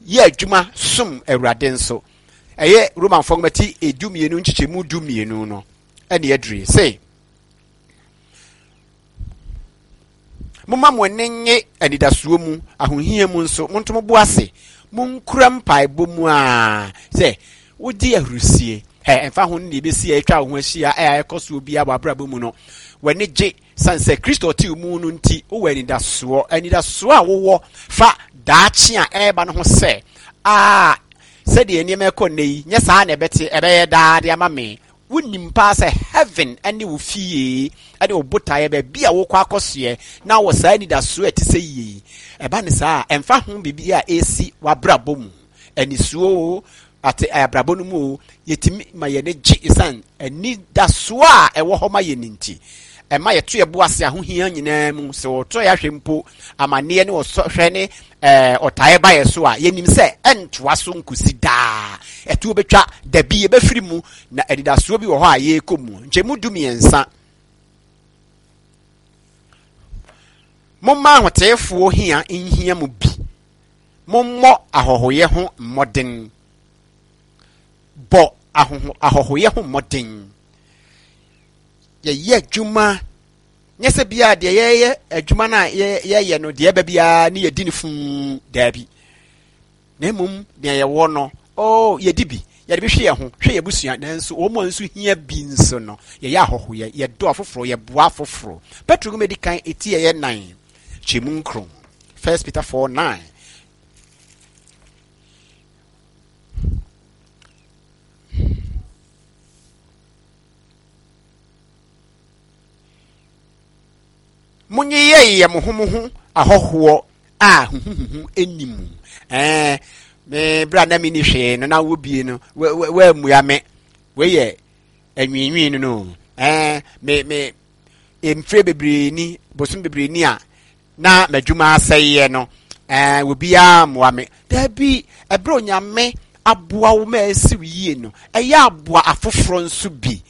yɛ adwuma som Awurade nso. Ɛyɛ Romanfoɔ nwoma ti 12 nkyekyɛmu 12 no ɛne aduru se Momma mo ani nnye anidasoɔ mu, ahohia mu nso, monto mo bo ase. Monkura mpaebɔ mu ara sɛ wogye ahurusie. Ɛ, ɛmfa ho ne deɛ ɛbɛsi a atwa wo ho ahyia a ɛkɔ soɔ biara wɔ abrabɔ mu no, w'ani gye sane sɛ Kristo ɔte wo mu no nti, wowɔ anidasoɔ. Anidasoɔ a wowɔ fa daakye a ɛreba no ho sɛ, a sɛdeɛ nneɛma ɛkɔ nnɛ yi, nyɛ saa na ɛbɛte, ɛbɛyɛ daa de ama me. Wonim paa sɛ heaven ne wo fie ne wo botaeɛ, baabi a wokɔ akɔsoɛ, na wɔ saa anidasoɔ a ɛte sɛ yie yi. Ɛba ne saa a, ɛmfa ho biribi a ɛresi w'abrabɔ mu, anisuo o, ate abrabɔ no mu o, yɛtumi ma yɛn ani gye ɛsiane anidasoɔ a ɛwɔ hɔ ma yɛn nti. Ɛma yɛto yɛn bo ase ahohia nyinaa mu. Sɛ wɔtɔ yɛn ahwɛ mpo, amanneɛ ne ɔsɔhwɛ ne ɛɛ ɔtaeɛ ba yɛn so a, yɛnim sɛ ɛntoa so nkosi daa. Ɛtoɔ bɛtwa, dabi yɛbɛfiri mu, na anidasoɔ bi wɔ hɔ a yɛrekɔ mu. Nkyɛmu 13. Momma ahoteefoɔ hia nhia mo bi. Mommɔ ahɔhoyɛ ho mmɔden. Bɔ ahɔhoyɛ ho mmɔden. Yɛyɛ adwuma nyɛ sɛ biara deɛ yɛyɛ adwuma no a yɛyɛ no deɛ ɛba biara ne yɛdi no fuu daabi. Na mmom nea yɛwɔ no, oh, yɛdi bi, yɛde bi hwɛ yɛn ho, hwɛ yɛn abusua, nanso wɔn a nso hia bi nso no, yɛyɛ ahɔhoyɛ, yɛdɔ afoforɔ, yɛboa afoforɔ. Petro nwoma edi kan eti ɛyɛ nan, kyɛmu nkron. First Peter 4 9. Monyeyɛyɛ mo ho mo ho ahɔhoɔ a huhuhuhu nni mu. Ɛɛ, me berɛ a na menni hwee no na wobie no, woammua me. Wei yɛ anwiinwii no no. Ɛɛ, me me mfire bebree ni, bosom bebree ni a na m'adwuma asɛeɛ no, ɛɛ, obiara mmoa me. Daabi, ɛberɛ Onyame aboa wo ma asi wo yie no, ɛyɛ aboa afoforɔ nso bi.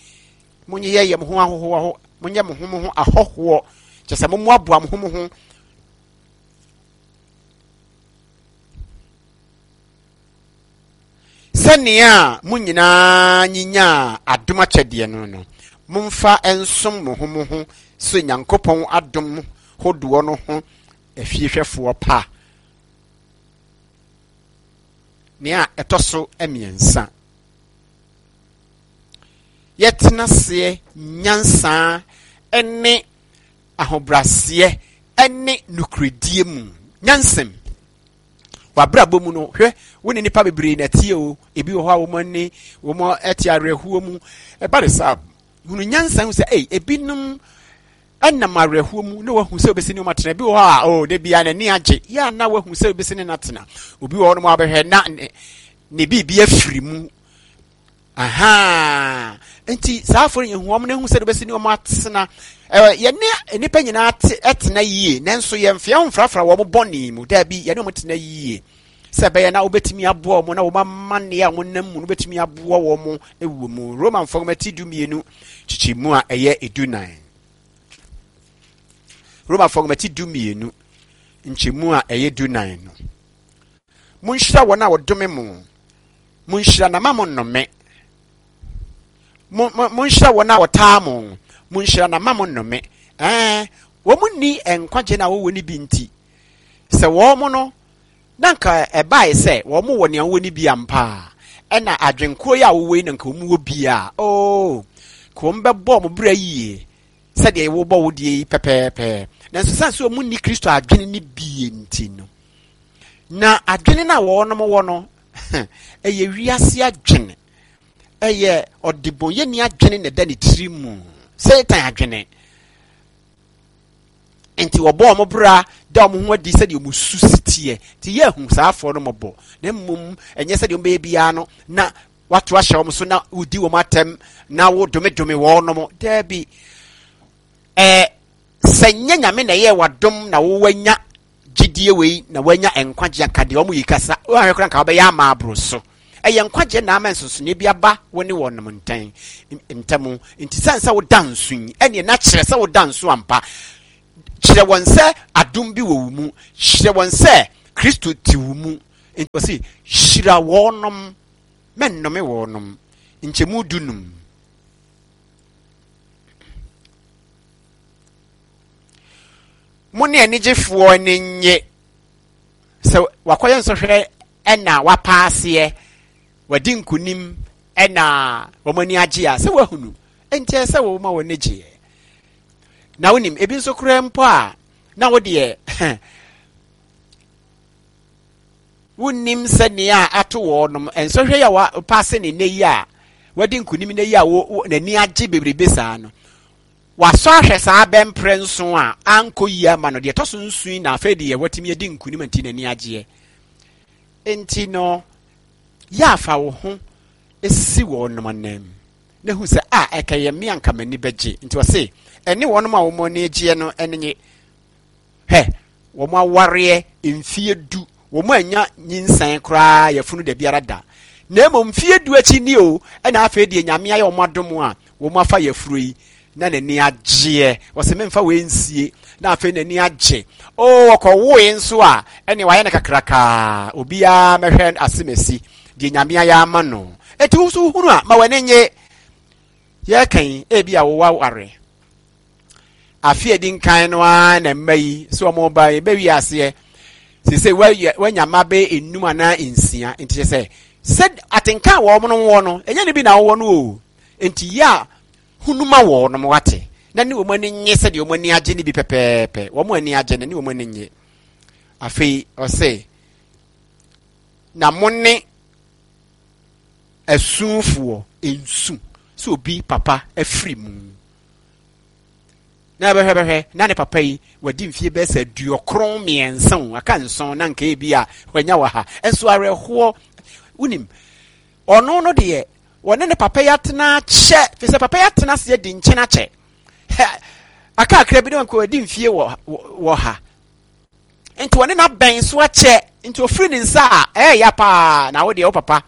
Monyeyɛyɛ mo ho ahohoaho, monyɛ mo ho mo ho ahɔhoɔ, kyɛ sɛ mommoaboa mo ho mo ho. Sɛnea mo nyinaa nyinyaa adom akyɛdeɛ no no, momfa nsom mo ho mo ho sɛ Nyankopɔn adom hodoɔ no ho afiehwɛfoɔ pa. Nea ɛtɔ so mmiɛnsa, yɛtena aseɛ nyansa ne ahobrɛaseɛ ne nokorɛdie mu. Nyansam. W'abrabɔ mu no, hwɛ, wo ne nnipa bebree na ɛteɛ o. Ebi wɔ hɔ a wɔn ani, wɔn ɛte awerɛhoɔ mu. Ɛba ne saa, hunu nyansa hu sɛ, ei, ebinom ɛnam awerɛhoɔ mu na wahu sɛ obɛsi ne wɔn atena. Ebi wɔ hɔ a, oh, da biara n'ani agye. Yɛ a na wahu sɛ obɛsi ne n'atena. Obi wɔ hɔ nom a wabɛhwɛ na ne, ne biribi afiri mu. Ahaa. Nti saa afɔre yɛn hu wɔn na ehu sɛ bɛsi ne wɔn atena. Ɛɛ yɛne nnipa nyinaa te ɛtena yie nanso yɛn mfeɛ ho mfrafra wɔn bɔne mu. Daabi yɛne wɔn tena yie sɛ ɛbɛyɛ na wobɛtumi aboa wɔn na wɔn amanneɛ a wɔn nam mu no wobɛtumi aboa wɔn wɔ mu. Romanfoɔ nwoma ti 12 kyekyɛ mu a ɛyɛ 14. Romanfoɔ nwoma ti 12 nkyɛmu a ɛyɛ 14 no. Monhyira wɔn a wɔdome mo. Monhyira na ma mo nnome. Mo, mo, monhyira wɔn a wɔtaa mo. Monhyira na ma mo nnome. Ɛɛ, wɔn nni nkwagye na wɔwɔ no bi nti, sɛ wɔn no, na nka ɛbae sɛ wɔn wɔ nea wɔwɔ no bi ampa a, ɛna adwenkorɔ yi a wɔwɔ yi na nka wɔn wɔ bi a, oo, ka wɔn bɛbɔ wɔn bra yie sɛdeɛ wɔbɔ wo deɛ yi pɛpɛɛpɛ. Nanso sane sɛ wɔn nni Kristo adwene no bi nti no, na adwene no a wɔn wɔ no, ɛyɛ wiase adwene ɛyɛ ɔdebɔnyɛni adwene na ɛda ne tiri mu satan adwene nti wɔbɔ wɔn bra da wɔn ho adi sɛdeɛ wɔn su si teɛ nti yɛ ahu saa afɔ no mɔbɔ na mmom ɛnyɛ sɛdeɛ wɔn bɛyɛ biara no na wato ahyɛ wɔn so na wodi wɔn atɛm na wodomedome wɔn nom daabi ɛɛ sɛ nyɛ nyame na ɛyɛ wadom na wowanya gyidie wei na wanya nkwagyeɛ anka deɛ wɔn yi kasa wɔahwɛ koraa nka wɔbɛyɛ ama aboro so ɛyɛ nkwagyeɛ na ama nsonsonoeɛ bi aba wo ne wɔnom ntɛn ntam nti sɛn sɛ woda nso yi ɛneɛ na kyerɛ sɛ woda nso ampa kyerɛ wɔn sɛ adom bi wɔ wo mu kyerɛ wɔn sɛ kristo te wo mu. Nti ɔse, hyira wɔnom, mɛnnome wɔnom. Nkyɛmu dunum. Mo ne anigyefoɔ ani nnye sɛ wakɔyɛ nsɔhwɛ ɛna wapaaseɛ, wadi nkonim ɛna wɔn ani agye a, sɛ wahunu. Nti ɛsɛ sɛ wɔma wɔn ani gyeɛ. Na wonim, ebi nso koraa mpo a, na wo deɛ wonnim sɛ nea ato wɔnom nsɔhwɛ yi a wapaase ne nnɛ yi a wadi nkonim nnɛ yi a n'ani agye bebrebe saa no wasɔ ahwɛ saa bɛmprɛ nson a ankɔ yie ama no deɛ ɛtɔ so nson na afei deɛ watumi adi nkonim nti n'ani agyeɛ nti no yɛ afa wo ho si wɔnom anam na hu sɛ a ɛkɛyɛ me anka m'ani bɛgye nti ɔse ɛne wɔnom a wɔn ani gyeɛ no ɛne nye hwɛ wɔn awareɛ mfie du wɔn anya nyinsɛn koraa yɛfunu da biara da na mmom mfie du akyi ni o ɛna afei deɛ nyame ayɛ wɔn adom a wɔn afa yɛfuro yi na n'ani agyeɛ ɔsɛ memfa wei nsie na afei n'ani agye o ɔkɔwoe nso a ɛne wayɛ no kakrakaa obiara mɛhwɛ asemasi deɛ nyame ayɛ ama no enti wo nso wohunu a ma w'ani nye yɛka yi ebi a wowɔ aware afe a ɛdi nkan no ara na mma yi sɛ wɔn ba yi bɛwi aseɛ sese wanya mma bɛyɛ enum anaa nsia nti kyɛ sɛ sɛ atenka a wɔn no wɔ no ɛnyɛ ne bi na wɔwɔ no o nti yɛ a hunu ma wɔn no wate na ne wɔn ani nye sɛdeɛ wɔn ani agye ne bi pɛpɛɛpɛ wɔn ani agye no ne wɔn ani nye afei ɔsɛ na mo ne asufoɔ nsu sɛ obi papa afiri mu na bɛhwɛ bɛhwɛ na ne papa yi wadi mfie bɛyɛ sɛ aduokron mmiɛnsa o aka nson na nka ebi a wanya wɔ ha nso awerɛhoɔ wonim ɔno no deɛ wɔne ne papa yi atena akyɛ fi sɛ papa yi atena aseɛ di nkyɛn akyɛ aka akra bi ne wɔn wadi mfie wɔ wɔ ha nti wɔne n'abɛn so akyɛ nti ofiri ne nsa a ɛyɛ ya paa na wo deɛ wo papa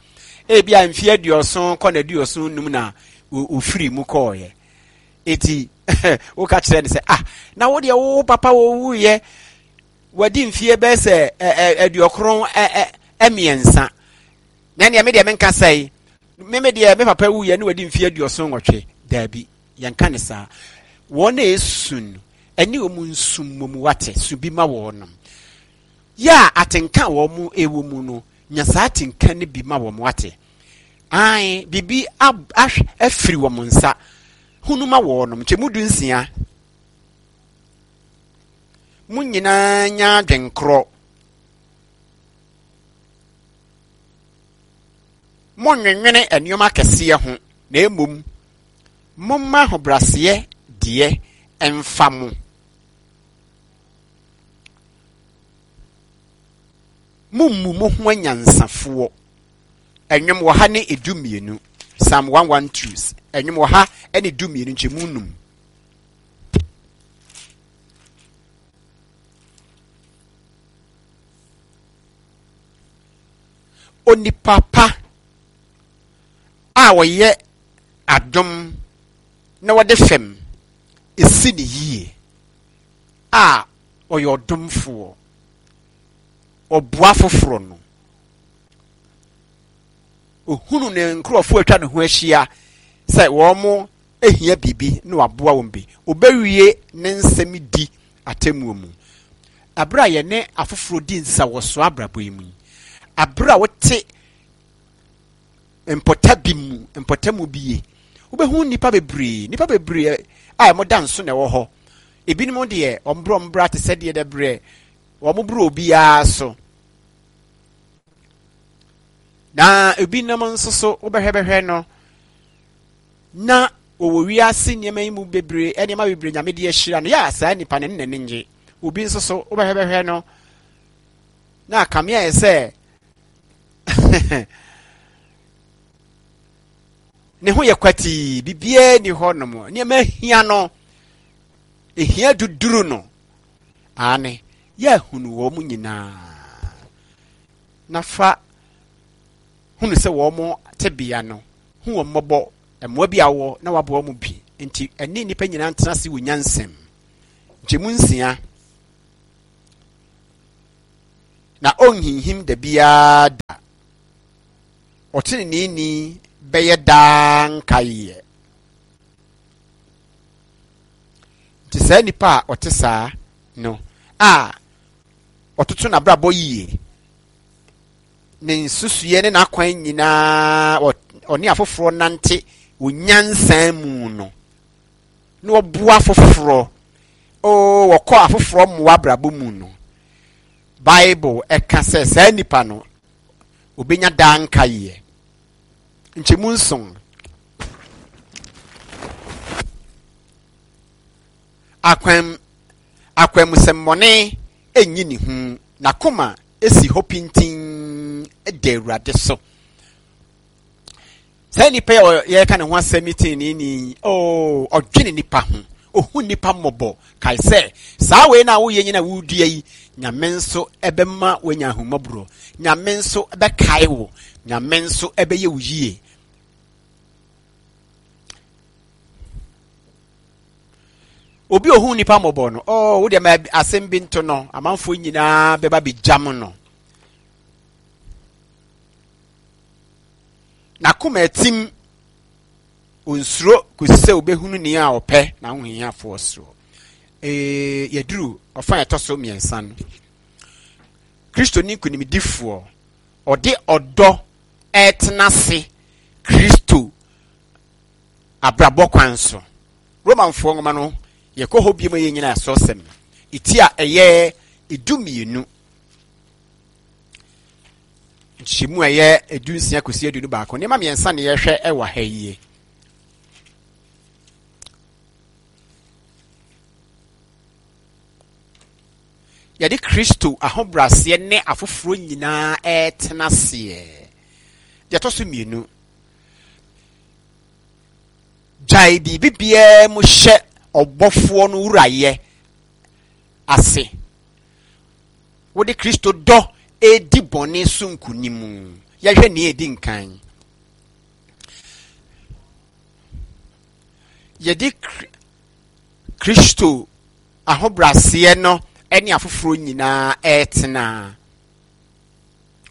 ebi a mfie aduɔson kɔ na aduɔson num na ofiri mu kɔɔyɛ eti woka kyerɛ no sɛ ah na wo deɛ wo papa wɔwuiɛ wadi mfie bɛyɛ sɛ aduɔkron mmiɛnsa na ɛneɛ me deɛ menka sɛe me me deɛ me papa wuiɛ ne wadi mfie aduɔson nwɔtwe daabi yɛnka ne saa wɔn a ɛsu no ɛne wɔn nsu mmom wate su bi ma wɔn yɛ a atenka a wɔn ɛwɔ mu no nya saa atenka no bi ma wɔn wate Ae, biribi afiri wɔn nsa. Hunu ma wɔnom. Nkyɛmu du nsia. Mo nyinaa nya adwenkorɔ. Monnwenwene nneɛma akɛseɛ ho, na mmom momma ahobrɛaseɛ deɛ mfa mo. Mommu mo ho anyansafoɔ. Nnwom ɔha ne edu mmienu. Psalm 112. Nnwom ɔha ne du mmienu nkyɛmu num. Onipa pa a ɔyɛ adom na wɔde fam esi ne yie a ɔyɛ ɔdomfoɔ ɔboa foforɔ no Ohunu ne nkurɔfoɔ atwa ne ho ahyia sɛ wɔn hia biribi na waboa wɔn bi. Obewie ne nsɛm di atemmuo mu. Abere a yɛne afoforɔ di nsawɔsoɔ abrabɔ yi mu yi, abere a wote mpɔta bi mu, mpɔtamu bi ye, wobɛhu nnipa bebree, nnipa bebree a wɔda nso na ɛwɔ hɔ. Ebinom deɛ, wɔn borɔ mbra te sɛ deɛ dɛbrɛ, wɔn borɔ obiara so. Na ebinom nso so wobɛhwɛbɛhwɛ no na wɔwɔ wiase nneɛma yi mu bebree nneɛma bebree nyame de ahyira no yɛ a saa nipa no ne n'ani nye obi nso so wobɛhwɛbɛhwɛ no na akame ayɛ sɛ ne ho yɛ kwatii biribiara ni hɔ nom nneɛma hia no ehia duduru no aane yɛahunu wɔn nyinaa na fa hunu sɛ wɔn tebea no, hu wɔn mmɔbɔ, mmoa bi a wowɔ na waboa wɔn bi. Nti ɛne nnipa nyinaa ntena ase wɔ nyansam. Nkyɛmu nsia. Na ɔnhinhim da biara da. Ɔteneneeni bɛyɛ daa nkaeɛ. Nti saa nipa a ɔte saa no a ɔtoto n'abrabɔ yie, ne nsusuiɛ ne n'akwan nyinaa ɔne afoforɔ nante wɔ nyansa mu no, na ɔboa afoforɔ, oo wɔkɔ afoforɔ mmoa abrabɔ mu no, Bible ɛka sɛ saa nipa no obenya daa nkaeɛ. Nkyɛmu nson. Akwan akwanmusɛmmɔne nyi ne hu, n'akoma si hɔ pintinn da Awurade so. Saa nipa yi a yɛreka ne ho asɛm yi teneneeni, oo, ɔdwene nipa ho, ohu nipa mmɔbɔ. Kae sɛ, saa wei na woyɛ nyina wodua yi, Nyame nso ɛbɛma woanya ahummɔborɔ. Nyame nso bɛkae wo. Nyame nso ɛbɛyɛ wo yie. Obi ohu nipa mmɔbɔ no, oh, wo deɛ ma asɛm bi nto no, amanfoɔ nyinaa bɛba bɛgyam no. N'akoma atim, onsuro kɔsi sɛ obɛhunu nea a ɔpɛ n'ahohiafoɔ soɔ. Ee, yɛduru ɔfa a ɛtɔ so mmiɛnsa no. Kristoni nkonimdifoɔ, ɔde ɔdɔ ɛretena ase Kristo abrabɔ kwan so. Romanfoɔ nwoma no, yɛkɔ hɔ bio ma yɛnyina asɔsɛm no. Eti a ɛyɛ 12. Nkyekyɛmu a ɛyɛ 16 kɔsi 21. Nneɛma mmiɛnsa na yɛhwɛ wɔ ha yie. Yɛde Kristo ahobrɛaseɛ ne afoforɔ nyinaa ɛretena aseɛ. Deɛ ɛtɔ so mmienu, gyae biribi biara mu hyɛ ɔbɔfoɔ no wurayɛ ase. Wode Kristo dɔ redi bɔne so nkonim. Yɛhwɛ nea edi nkan. Yɛde Kristo ahobrɛaseɛ no ne afoforɔ nyinaa ɛretena.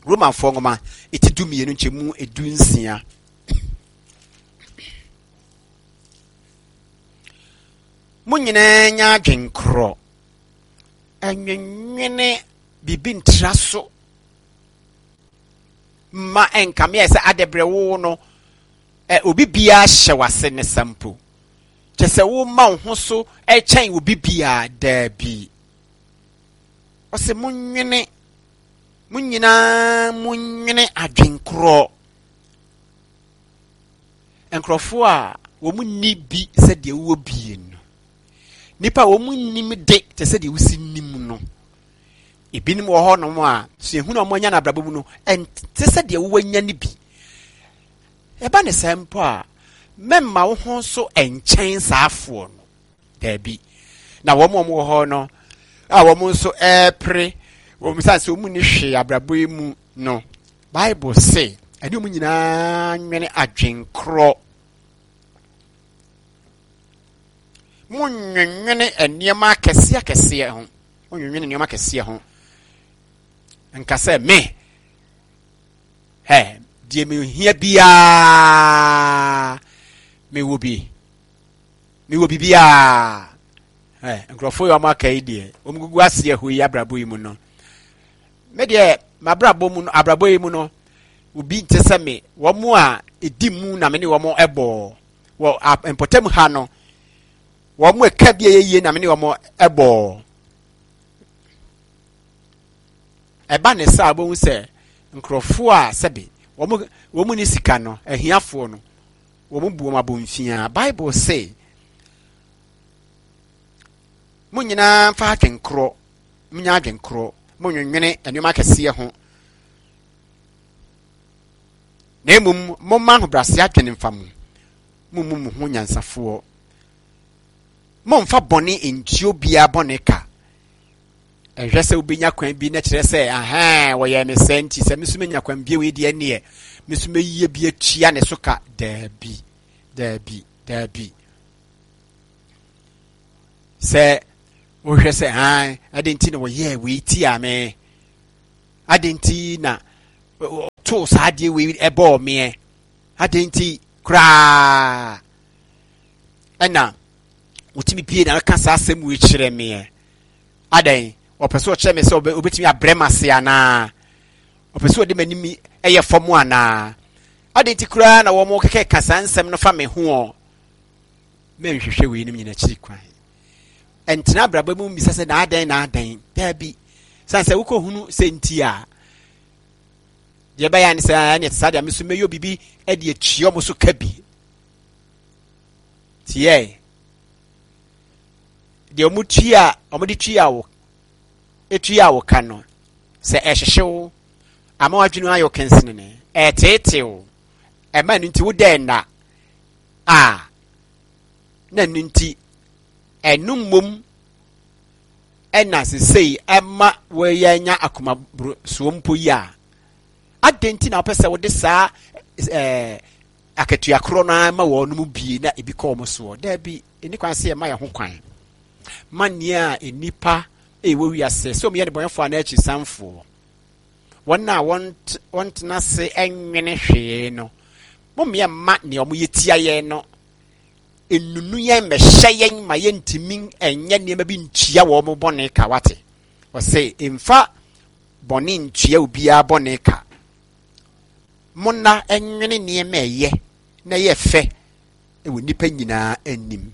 Romanfoɔ nwoma eti 12 nkyɛmu 16. Mo nyinaa nya adwenkorɔ. Ɛnwenwene biribi ntra so mma ɛnkame ayɛ sɛ adɛbrɛ wo no ɛ obi biara hyɛ w'ase ne sa mpo. Kyɛ sɛ woma wo ho so kyɛn obi biara daabi. Ɔsɛ monwene mo nyinaa monwene adwenkorɔ. Nkurɔfoɔ a wɔn nni bi sɛdeɛ wowɔ bie no. Nnipa a wɔn nnim de te sɛ deɛ wosi nim no. Ebinom wɔ hɔnom a suahunu a wɔanya no abrabɔ mu no ɛnte sɛ deɛ wowanya no bi. Ɛba ne saa mpo a, mɛmma wo ho so nkyɛn saa afoɔ no. Daabi. Na wɔn a wɔwɔ hɔ no a wɔn nso ɛrepere wɔn sane sɛ wɔn nni hwee abrabɔ yi mu no, Bible se ɛne wɔn nyinaa nwene adwenkorɔ. Monnwennwene nneɛma akɛseɛ akɛseɛ ho. Monnwennwene nneɛma akɛseɛ ho. Nka sɛ me, hɛ, deɛ mehia biara mewɔ bi. Mewɔ biribiara. Hɛ, nkurɔfoɔ yi wɔn aka yi deɛ, wɔn gugu aseɛ hɔ yi abrabɔ yi mu no. Me deɛ, m'abrabɔ mu no, abrabɔ yi mu no, obi nte sɛ me. Wɔn a ɛdi mu na me ne wɔn bɔɔ. Wɔ mpɔtam ha no, wɔn a ɛka bi a ɛyɛ yie na me ne wɔn bɔɔ. Ɛba ne saa wobɛhu sɛ nkurɔfoɔ a sɛbe wɔn wɔn ni sika no, ahiafoɔ no, wɔn bu wɔn abomfiaa. Bible se, mo nyinaa mfa adwenkorɔ, munya adwenkorɔ, monwenwene nneɛma akɛseɛ ho. Na mmom momma ahobrɛase adwene mfa mo, mommu mo ho nyansafoɔ. Mommfa bɔne ntua obiara bɔne ka. Ɛnhwɛ sɛ wobɛnya kwan bi na kyerɛ sɛ ahɛn wɔyɛ me sɛ nti sɛ me nso menya kwan bi wei deɛ neɛ me nso mɛyie bi atua ne so ka. Daabi, daabi, daabi. Sɛ wohwɛ sɛ han ɛde nti na wɔyɛɛ wei tia me. Adɛn nti na ɔtoo saa adeɛ wei ɛbɔɔ meɛ? Adɛn nti koraa ɛna wotumi pie na ɔka saa asɛm wei kyerɛ meɛ? Adɛn ɔpɛ sɛ ɔkyerɛ me sɛ ɔbɛtumi abrɛ m ase anaa? Ɔpɛ sɛ ɔde m'anim yɛ fam anaa? Adɛn nti koraa na wɔn kɛkɛ ka saa nsɛm no fa me ho ɔ? Mɛnhwehwɛ weinom nyina akyiri kwan. Ɛntena abrabɔ mu mmisa sɛ na adɛn na adɛn. Daabi. Sane sɛ wokɔhunu sɛ nti a, deɛ ɛbɛyɛ ne sɛ ɛne ɛte saa deɛ me so mɛyɛ biribi de atua ɔmo so ka bi. Tiɛ. Deɛ ɔmo tua, ɔmo de tua wo, etua wo ka no, sɛ ɛhyehye wo, ama w'adwene ayɛ wo kensenene, ɛteetee wo, ɛma ɛno nti wo dɛ nna a, na ɛno nti ɛno mmom ɛna sesei ɛma wɔyɛ anya akoma soɔ mpo yi a, adɛn nti na wopɛ sɛ wode saa ɛɛ akatua korɔ no ara ma wɔn mu bie na ebi kɔ wɔn soɔ? Daabi, ɛni kwan sɛ yɛma yɛn ho kwan ma nea nnipa ɛwɔ wiase sɛ wɔyɛ nnebɔneyɛfoɔ anaa akyisanfoɔ, wɔn a wɔntena ase nwene hwee no, mommea mma nea wɔyɛ tia yɛn no nnunu yɛn mmɛhyɛ yɛn ma yɛntumi nyɛ nneɛma bi ntua wɔn bɔne ka. Wate? Ɔsɛ mfa bɔne ntua obiara bɔne ka. Monna nwene nneɛma ɛyɛ na ɛyɛ fɛ wɔ nnipa nyinaa anim.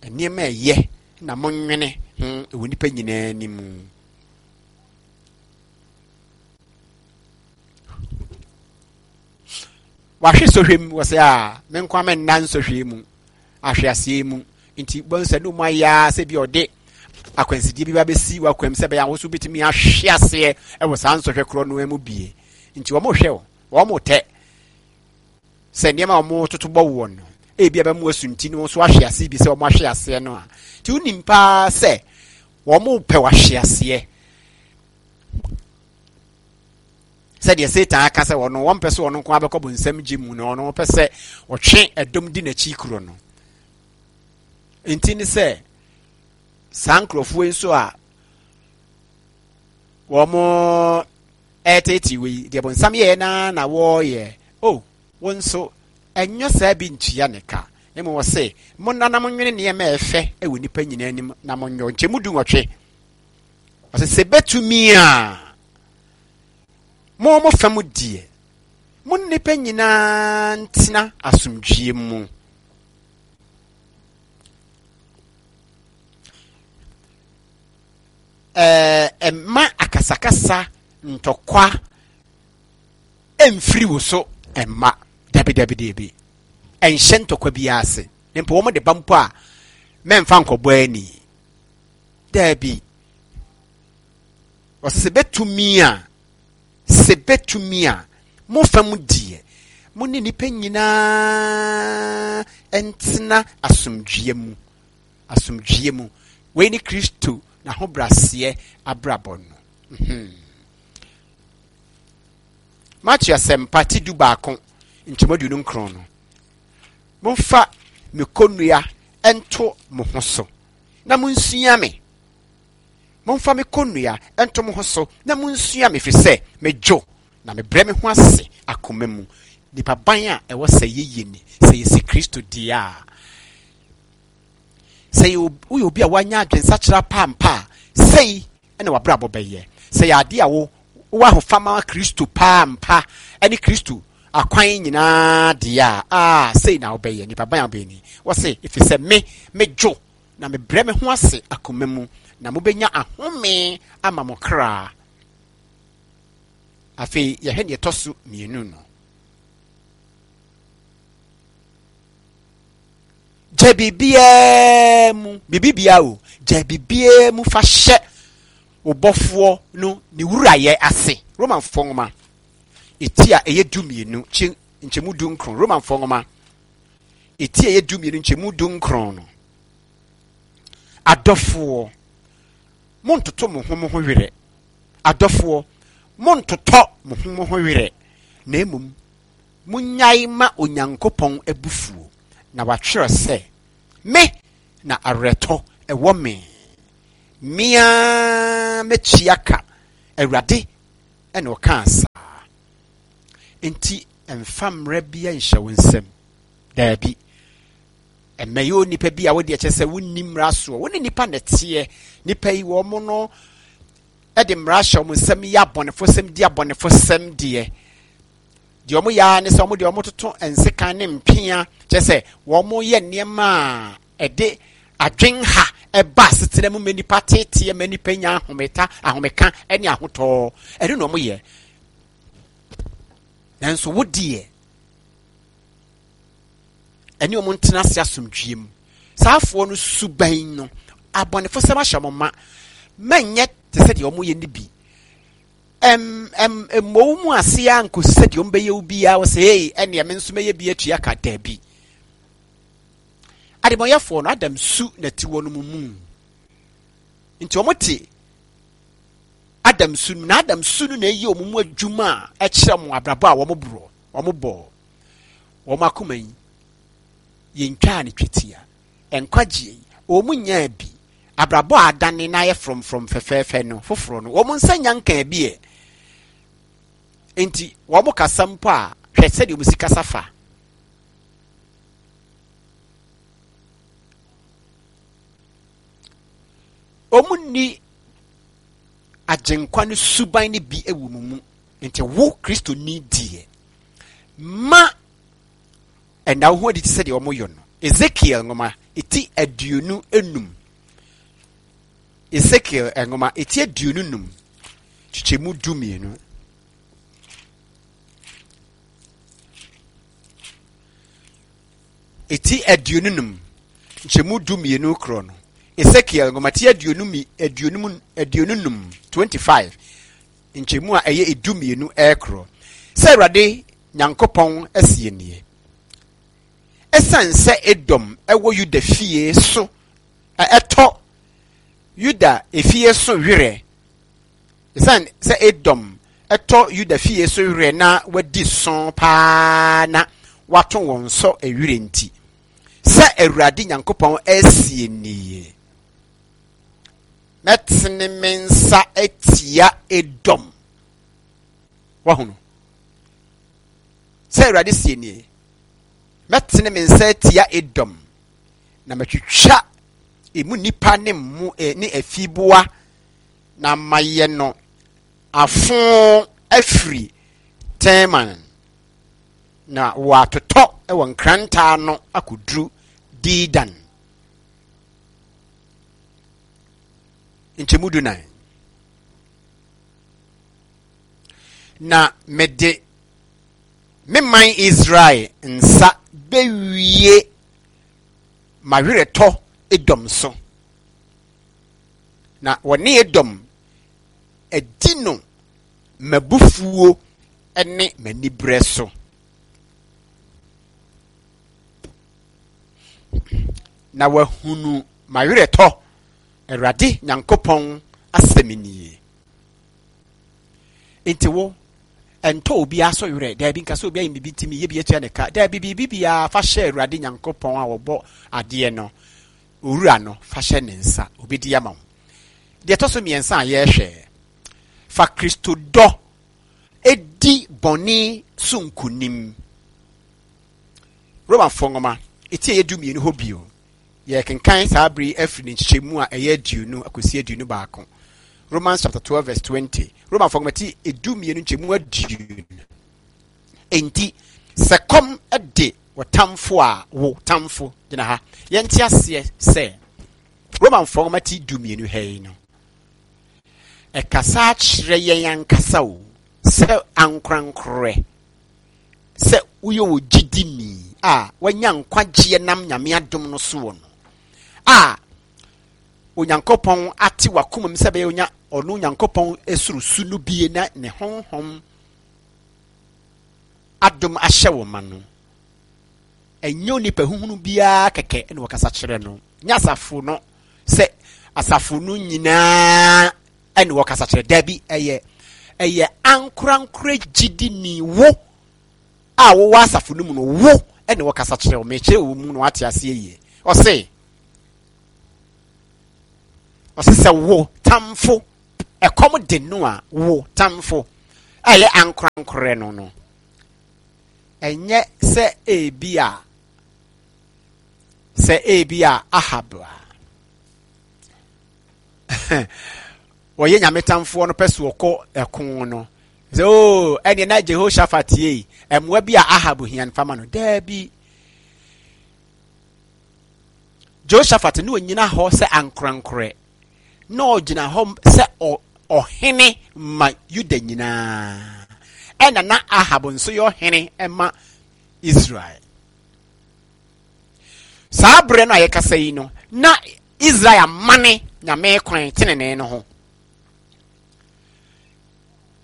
Nneɛma a ɛyɛ na monnwene ho wɔ nnipa nyinaa anim. Wahwe sɔhwɛ mu wɔ sɛ a me nko ama nna nsɔhwɛ mu ahweaseɛ mu nti bɔn sɛ no mu ayɛ ara sɛ bi ɔde akwansideɛ bi ba bɛsi w'akwam sɛ bɛyɛ ahosuo bɛtumi ahwe aseɛ wɔ saa nsɔhwɛ korɔ no mu bie nti wɔn hwɛ o wɔn tɛ sɛ nneɛma a wɔtoto bɔ woɔ no, ebi a bɛmo asunti no nso ahwe ase bi sɛ wɔn ahwe aseɛ no a, nti wonim paa sɛ wɔn pɛ wahwe aseɛ. Sɛdeɛ Satan aka sɛ wɔn wɔn pɛ sɛ wɔn nko abɛkɔ bonsam gye mu na wɔn pɛ sɛ wɔtwe ɛdɔm di n'akyi kuro no. Nti ne sɛ saa nkurɔfoɔ yi nso a wɔn ɛreteetee wo yi, deɛ bonsam yɛɛ no ara na wɔreyɛ. O, wo nso, ɛnyɛ saa bi ntua ne ka. Mmom ɔse, monna na monwene nneɛma a ɛfɛ wɔ nnipa nyinaa anim na monyɔ. Nkyɛmu du nwɔtwe. Ɔse, sɛ bɛtumi a, mo mo fa mu deɛ, mo nnipa nyinaa ntena asomdwie mu. Ɛɛ, mma akasakasa, ntɔkwa mfiri wo so mma. Dabi, dabi, dabi. Ɛnhyɛ ntɔkwa biara ase. Na mpo wɔn de ba mpo a, mɛmfa nkɔbɔ ani. Dabi. Ɔsɛ sɛ bɛtumi a, sɛ bɛtumi a, mo fam deɛ, mo ne nnipa nyinaa ntena asomdwoeɛ mu. asomdwoeɛ mu. Wei ne Kristo n'ahobrɛaseɛ abrabɔ no. Mhm. Matthew Asɛmpa ti 11 nkyɛmu 29 no. Momfa me kɔnnua nto mo ho so na monsua me. Momfa me kɔnnua nto mo ho so na monsua me, ɛfiri sɛ medwo na mebrɛ me ho ase akoma mu. Nipa ban a ɛwɔ sɛ yɛyɛ ni, sɛ yɛsi Kristo deɛ a, Sɛ woyɛ obi a wanya adwensakyera paampa a, sei na w'abrabɔ bɛyɛ. Sɛ yɛ adeɛ a wo wowɔ ahofama Kristo paampa ne Kristo akwan nyinaa deɛ a, aa sei na wobɛyɛ. Nipa ban a wobɛyɛ ni. Wɔse, ɛfiri sɛ me, medwo na mebrɛ me ho ase akoma mu, na mobɛnya ahome ama mo kra. Afei yɛhwɛ deɛ ɛtɔ so mmienu no. Gya biribiara mu, biribiara o, gya biribiara mu fa hyɛ wo bɔfoɔ no ne wurayɛ ase. Romanfoɔ nwoma, eti a ɛyɛ 12, kye nkyɛmu 19. Romanfoɔ nwoma, eti a ɛyɛ 12, nkyɛmu 19 no. Adɔfoɔ, montoto mo ho mo ho werɛ. Adɔfoɔ, montotɔ mo ho mo ho werɛ, na mmom Monnyae mma Onyankopɔn abufuo, na wɔatwerɛ sɛ, Me na awerɛtɔ wɔ me, me ara mɛtua ka, Awurade na ɔkaa saa. Enti mfa mmara biara nhyɛ wo nsam. Daabi. Ɛmmɛyɛ onipa bi a wode ɛkyɛ sɛ wonni mmara soɔ. Wo ne nipa na ɛteɛ. Nipa yi wɔn no de mmara hyɛ wɔn nsam yɛ abɔnefosɛm di abɔnefosɛm deɛ. Deɛ wɔn yɛ ara ne sɛ wɔn deɛ wɔtoto nsekan ne mpea kyerɛ sɛ wɔn yɛ nneɛma a ɛde adwenha ɛba asetena mu ma nipa teteɛ ma nipa nya ahometa ahomeka ne ahotɔ ɛno na wɔn yɛ nanso wo deɛ ɛne wɔn ntena ase asomdwie mu saa afoɔ no suban no abɔnefosɛm ahyɛ wɔn ma mɛnyɛ te sɛ deɛ wɔn yɛ no bi ɛm ɛm mmɔ wo mu ase ara nkosi sɛ deɛ wɔbɛyɛ wo biara wɔ sɛ ei ɛnneɛ me nso mɛyɛ bi atua ka daabi adebɔnyɛfoɔ no adam su na ti wɔn mu mu nti wɔn te adam su no na adam su no na ɛyɛ wɔn mu adwuma a ɛkyerɛ wɔn abrabɔ a wɔn borɔ wɔn bɔ wɔn akoma yi yɛntwaa ne twetia Nkwagyeɛ yi, wɔn nyaa bi. Abrabɔ a adane na ayɛ frɔmfrɔm fɛfɛɛfɛ no foforɔ no, wɔn nsa nya nkaa bi ɛ. Enti wɔn kasa mpo a, hwɛ sɛdeɛ wɔn si kasa fa. Wɔn nni agyenkwa no suban no bi wɔ wɔn mu. Nti wo Kristoni deɛ, ma Ɛnna wo ho adi te sɛ deɛ wɔyɔ no. Ezekiel nwoma eti 25. Ezekiel nwoma eti 25 kyekyɛmu 12. Eti 25 nkyɛmu 12 korɔ no. Ezekiel nwoma ti 25 25 nkyɛmu a ɛyɛ 12 ɛkorɔ. Sɛ Awurade Nyankopɔn seɛ nie, Ɛsiane sɛ Edom wɔ Yuda fie so ɛtɔ Yuda efie so werɛ, ɛsiane sɛ Edom ɛtɔ Yuda fie so werɛ na wadi so paa na wato wɔn sɔ werɛ nti, sɛ Awurade Nyankopɔn seɛ nie, mɛtene me nsa atia Edom. Wahunu? Sɛ Awurade sie nie, mɛtene me nsa atia Edom, na matwitwa emu nnipa ne mmo eh, ne afieboa, na mayɛ no afo afiri Teman, na wɔatotɔ wɔ nkranta ano akɔduru Dedan. Nkyɛmu dunan. Na mede me man Israel nsa bɛwie m'aweretɔ Edom so, na wɔne Edom adi no m'abufuo ne m'aniberɛ so. Na wɔahunu m'aweretɔ, Awurade Nyankopɔn asɛm nie. Nti wo, ɛntɔ obiara so werɛ. Daabi, nka sɛ obi ayɛ biribi nti meyɛ bi atua ne ka. Daabi, biribi biara fa hyɛ Awurade Nyankopɔn a ɔbɔ adeɛ no, Owura no, fa hyɛ ne nsa. Obɛdi ama wo. Deɛ ɛtɔ so mmiɛnsa a yɛrehwɛ, fa Kristo dɔ di bɔne so nkonim. Romafoɔ nwoma, ɛti a ɛyɛ 12 hɔ bio. Yɛrekenkan saa bere yi afiri ne nkyekyɛmu a ɛyɛ 20 akosi 21. Romans chapter 12 verse 20. Romafo nwoma ti 12 nkyɛmu 20. Enti sɛ kɔm de wo tamfo a wo tamfo gyina ha. Yɛnte aseɛ sɛ Romanfoɔ nwoma ti 12 ha yi no ɛkasa akyerɛ yɛn ankasa o sɛ ankorankorɛ sɛ woyɛ wɔ gyidini a wanya nkwagyeɛ nam Nyame adom no soɔ no a Onyankopɔn ate wakoma mu sɛ bɛyɛ onya ɔno Onyankopɔn soro su no bie na ne honhom adom ahyɛ wo ma no ɛnyɛ onipa huhunu biara kɛkɛ na wɔkasa kyerɛ no nyɛ asafo no sɛ asafo no nyinaa ɛne wɔkasa kyerɛ dabi ɛyɛ ɛyɛ ankorankorɛ gyidini wo a wowɔ asafo no mu no wo ɛne wɔkasa kyerɛ wo mekyerɛ wo mu na wate aseɛ yie ɔse ɔse sɛ wo tamfo ɛkɔm de no a, wo tamfo a ɛyɛ ankorankorɛ no no, ɛnyɛ sɛ ebi a sɛ ebi a Ahab a wɔyɛ nyame tamfoɔ no pɛ so ɔkɔ ɛko no sɛ oo oh, ɛneɛ na Jehoshaphat yei mmoa bi a Ahab hia no fama no daabi Jehoshaphat ne ɔnyina hɔ sɛ ankorankorɛ na ɔgyina hɔ sɛ ɔhene ma Yuda nyinaa ɛna na Ahab nso yɛ ɔhene ma Israel saa berɛ no a yɛkasa yi no na Israel amane nyame kwan tenenee no ho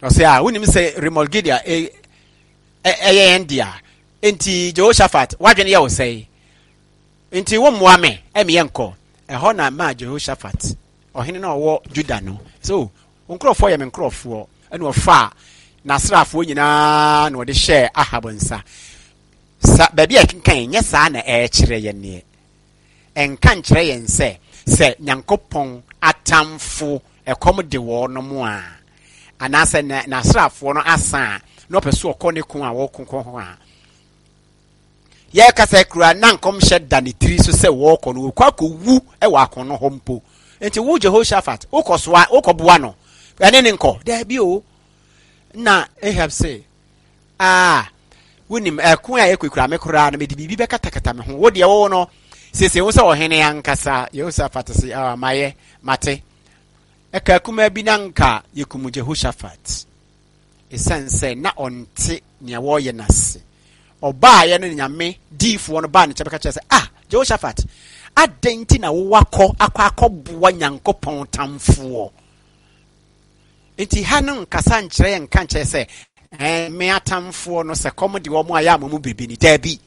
ɔsɛ a wonim sɛ Ramoth Gilead ɛyɛ yɛn dea nti Jehoshaphat wadwene yɛ wo sɛe nti wo mmoa me ɛmi yɛ nkɔ ɛhɔ na maa Jehoshaphat ɔhene na ɔwɔ Juda no so wo nkurɔfoɔ yɛ me nkurɔfoɔ ɛna ɔfaa n'asraafoɔ nyinaa na ɔde hyɛɛ Ahab nsa sa baabi a ɛkenkan nyɛ saa na ɛrekyerɛ yɛn neɛ ɛnka nkyerɛ yɛn sɛ sɛ Nyankopɔn atamfo ɛkɔm de wɔn mo a anaasɛ n'asraafoɔ no asa a na ɔpɛ so ɔkɔ ne ko a wɔko kɔ ho a yɛkasa kura na nkɔmhyɛ da ne tiri so sɛ wɔrekɔ no wɔkɔ akɔwu wɔ akono hɔ mpo nti wo Jehoshaphat wokɔ soa wokɔboa no ɛne ne nkɔ daabi o na Ahab se aa wonim ɛko a ɛkɔ me koraa no mede biribi bɛkatakata me ho wo deɛ wo no sese wo sɛ ɔhene ankasa Jehoshaphat se ah mayɛ mate Ɛkaa kumaa bi na anka yɛkum Jehoshaphat. Ɛsiane sɛ na ɔnte nea wɔreyɛ no ase. Ɔbaeɛ no Nyame diifoɔ no baa ne nkyɛn bɛka kyerɛ sɛ, ah, Jehoshaphat, adɛn nti na wowakɔ akɔ akɔboa Nyankopɔn tamfoɔ? Nti ha no nkasa nkyerɛ yɛn nka nkyerɛ sɛ ɛɛ me atamfoɔ no sɛ kɔm de wɔn ayɛ ama mu biribi ni. Daabi.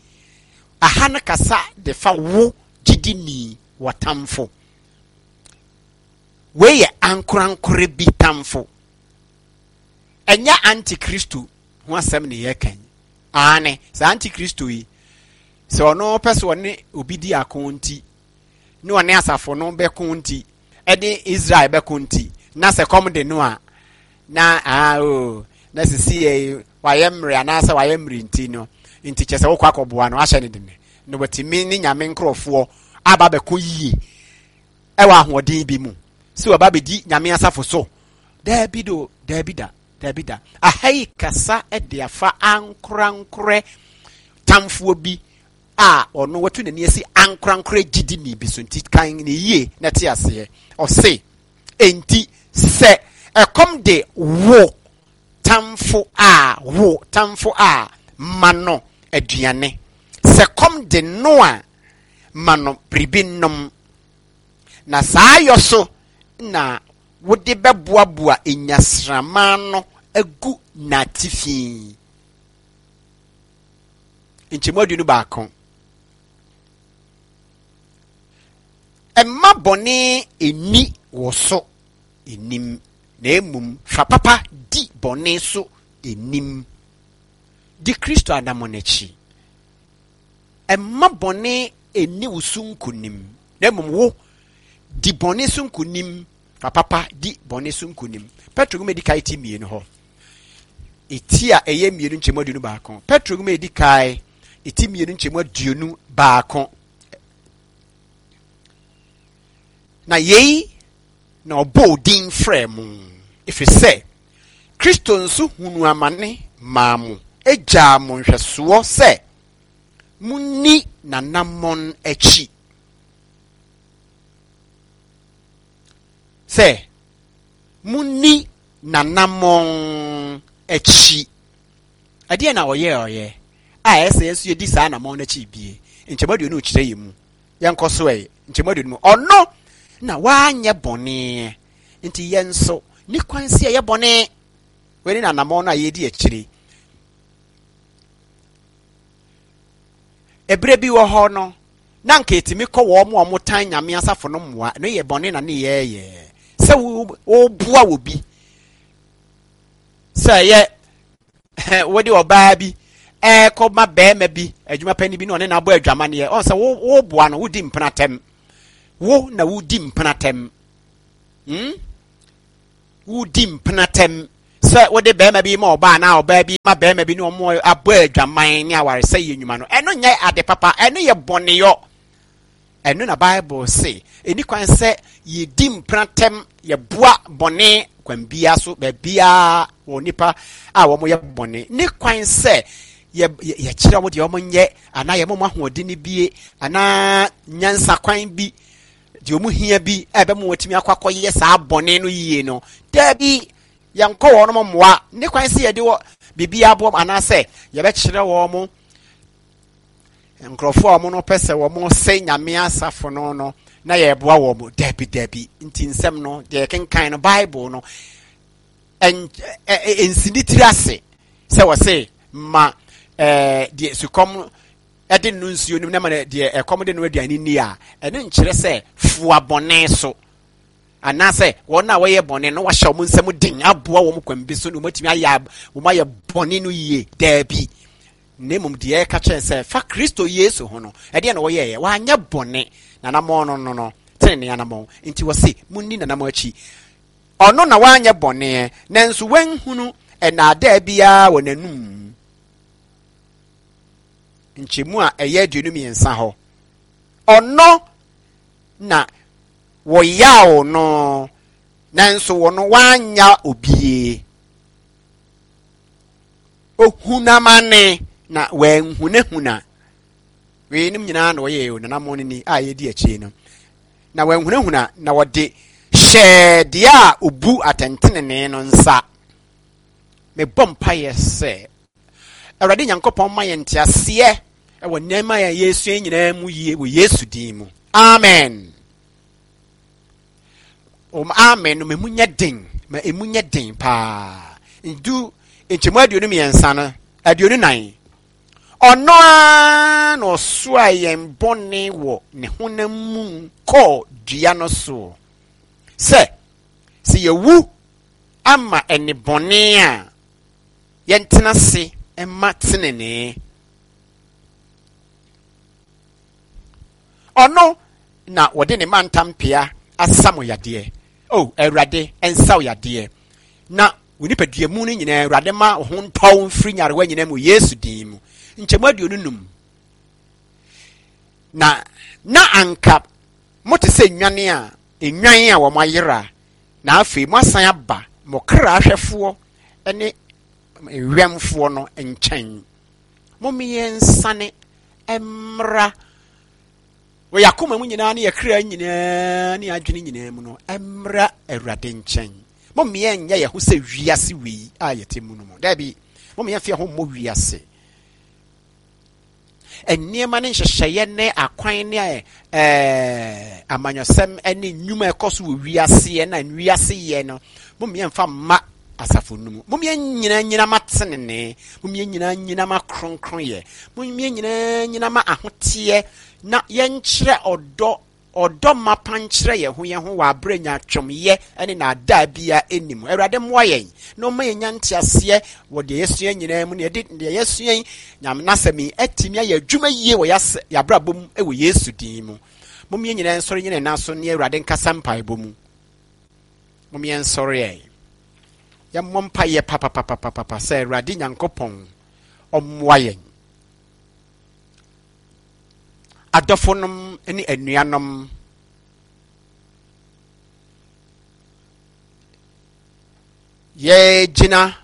Aha no kasa de fa wo gyidini wɔtamfo. Wei yɛ ankorankore bi tamfo. Ɛnyɛ antikristo ho asɛm ne yɛka yi. Aane, saa antikristo yi, sɛ ɔno pɛ sɛ ɔne obi di ako nti, ne ɔne asafo no bɛko nti, ɛne Israel bɛko nti, na sɛ kɔm de no a, na aa o, na sisi yɛ wayɛ mmerɛ anaasɛ wayɛ mmerɛ nti no, nti kyɛ sɛ wokɔ akɔboa no ahyɛ ne dene, na watumi ne nyame nkurɔfoɔ aba bɛko yie. ɛwɔ ahoɔden bi mu sɛ wɔba abɛdi nyame asafo so daabi do daabi da daabi da aha yi kasa de afa ankorankorɛ tamfoɔ bi a ɔno watu n'ani asi ankorankorɛ gyidini bi so nti kan ne yie na te aseɛ ɔse enti sɛ ɛkɔm de wo tamfo a wo tamfo a ma no aduane sɛ kɔm de no a ma no biribi nnom, na saa yɔ so na wode bɛboaboa nnyasramma ano agu n'atifi. Nkyɛmu 21. Mma bɔne nni wo so nnim, na mmom fa papa di bɔne so nnim. Di Kristo anammɔn akyi. Mma bɔne nni wo so nkonim, na mmom wo, di bɔne so nkonim, fa papa di bɔne so nkonim. Petro nwoma edi kan ti mmienu hɔ. Eti a ɛyɛ mmienu nkyɛmu 21. Petro nwoma edi kan eti mmienu nkyɛmu 21. Na yei na ɔbɔɔ din frɛɛ mo, ɛfiri sɛ Kristo nso hunuu amane maa mo, gyaa mo nhwɛsoɔ sɛ monni n'anammɔn akyi. Sɛ monni n'anammɔn akyi. Ɛdeɛ na ɔyɛ ɔyɛ a ɛsɛ yɛn nso yɛdi saa anammɔn no akyi bie. Nkyɛmu 20 kyerɛ yɛn mu. Yɛnkɔ so ɛ. Nkyɛmu 20 mu. Ɔno na wanyɛ bɔne. Nti yɛn nso ne kwan si ɛyɛ bɔne. Wei ne n'anammɔn no a yɛdi akyire. Ɛberɛ bi wɔ hɔ no, na anka ɛtumi kɔ wɔn a wɔtan Nyame asafo no mmoa. Ɛno yɛ bɔne na ne yɛɛyɛ. Sɛ woboa wɔ bi, sɛ ɛyɛ wode ɔbaa bi ɛkɔ ma bɛrima bi, adwuma panyin bi na ɔne no abɔ adwamaneɛ, ɔn sɛ woboa no, wodi mpenatɛm. Wo na wodi mpenatɛm. Hmm? wodi mpenatɛm sɛ wode bɛrima bi ma ɔbaa anaa ɔbaa bi ma bɛrima bi ne wɔn abɔ adwaman ne awaresɛe yɛ nnwuma no, ɛno nyɛ ade papa, ɛno yɛ bɔneyɔ. Ɛno na Bible se ɛni kwan sɛ yɛdi mpenatɛm, yɛboa bɔne kwan biara so, baabiara wɔ nipa a wɔyɛ bɔne. Ne kwan sɛ yɛkyerɛ wɔn deɛ wɔnyɛ anaa yɛma wɔn ahoɔden bie anaa nyansa kwan bi deɛ wɔn hia bi a ɛbɛma wɔatumi akɔ akɔyɛ saa bɔne no yie no. Daabi, yɛnkɔ wɔn mmoa. Ne kwan sɛ yɛde wɔ biribi aboɔ anaasɛ yɛbɛkyerɛ wɔn nkurɔfoɔ a wɔn no pɛ sɛ wɔn sɛ nyame asafo no no na yɛreboa wɔn. Dabi, dabi. Nti nsɛm no deɛ yɛkenkan no, Bible no ɛnsi ne tiri ase sɛ wɔse ma ɛɛ deɛ sukɔm ɛde no nsuo no na ma deɛ ɛkɔm de no aduane ni a, ɛno nkyerɛ sɛ foa bɔne so anaasɛ wɔn a wɔyɛ bɔne no wahyɛ wɔn nsam den aboa wɔn kwan bi so na wɔatumi ayɛ wɔn ayɛ bɔne no yie. Daabi, na mmom deɛ ɛka kyerɛ sɛ fa Kristo Yesu ho no, ɛdeɛ na wɔyɛeɛ, wanyɛ bɔne, nanamɔn no no no tenene anamɔn, nti wɔse munni nanamɔn akyi. Ɔno na wanyɛ bɔne, nanso wanhunu nnaadaa biara wɔ n'anum. Nkyɛmu a ɛyɛ 23 hɔ, ɔno na wɔyaw no, nanso wɔno wanya obie. Ohunamane na wanhunahuna. Weinom nyinaa na wɔyɛ o nanammɔn no ni a yɛdi akyire no. Na wanhunahuna na wɔde hyɛɛ deɛ a obu atɛntenenee no nsa. Mebɔ mpaeɛ sɛ Awurade Nyankopɔn ma yɛn nteaseɛ wɔ nneɛma a yɛresua nyinaa mu yie wɔ Yesu din mu. Amen. Wɔn amen no ma emu nyɛ den, ma emu nyɛ den paa. Ndu nkyɛmu 23 no, 24. Ɔno ara na ɔsoa yɛn bɔne wɔ ne honam mu kɔɔ dua no so, sɛ sɛ yɛwu ama nnebɔne a, yɛntena ase mma tenenee. Ɔno na wɔde ne mantam pea asa mo yadeɛ. O Awurade, nsa wo yadeɛ. Na wo nipadua mu no nyinaa, Awurade ma wo ho ntɔ wo mfiri nyarewa nyinaa mu, Yesu din mu. Nkyɛmu 25. Na na anka mote sɛ nnwane a nnwan a wɔn ayera, na afei moasan aba mo kra ahwɛfoɔ ne wɛmfoɔ no nkyɛn. Mommyɛnsane mmra wɔ yɛn akoma mu nyinaa ne yɛn kra nyinaa ne yɛn adwene nyinaa mu no mmra Awurade nkyɛn. Mommyɛ nyɛ yɛn ho sɛ wiase wei a yɛte mu no mu. Daabi, mommyɛ mfe yɛn ho mmɔ wiase. Nneɛma ne nhyehyɛeɛ ne akwan ne ɛɛ amanyɔsɛm ne nnwuma ɛkɔ so wɔ wiase na wiase yɛ no, mommyɛ mfa mma asafo no mu. Mommyɛ nyina nyina ma tenenee, mommyɛ nyina nyina ma kronkronyɛ, mommyɛ nyina nyina ma ahoteɛ, na yɛnkyerɛ ɔdɔ, ɔdɔ mapa nkyerɛ yɛn ho yɛn ho wɔ aberɛ nyaatwomyɛ ne naadaa biara nni mu. Awurade mmoa yɛn na ɔma yɛnya nteaseɛ wɔ deɛ yɛasua nyinaa mu, na yɛde deɛ yɛasua yi, Nyame n'asɛm yi, atumi ayɛ adwuma yie wɔ yɛabrabɔ mu wɔ Yesu din mu. Mom yɛn nyinaa nsɔre nyina yɛn nan so ne Awurade nkasa mpaebɔ mu. Mom yɛn nsɔre ɛ. Yɛmmɔ mpaeɛ papapapapapa sɛ Awurade Nyankopɔn ɔmmoa yɛn. Adɔfonom ne anuanom, yɛgyina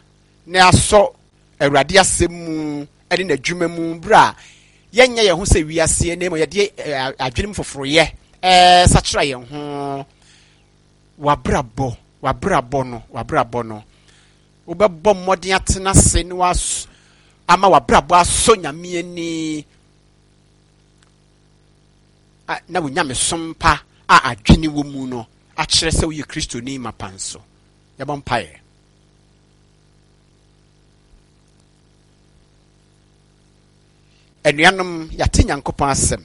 na asɔ Awurade asɛm mu ne n'adwuma mu berɛ a yɛnyɛ yɛn ho sɛ wiaseɛ na mmom yɛde adwenem foforoyɛ sakyera yɛn ho. W'abrabɔ, w'abrabɔ no, w'abrabɔ no, wobɛbɔ mmɔden atena ase na was ama w'abrabɔ asɔ Nyame ani na wo nyamesom pa a adwene wɔ mu no akyerɛ sɛ woyɛ Kristoni mapa nso. Yɛbɔ mpaeɛ. Anuanom, yɛate Nyankopɔn asɛm.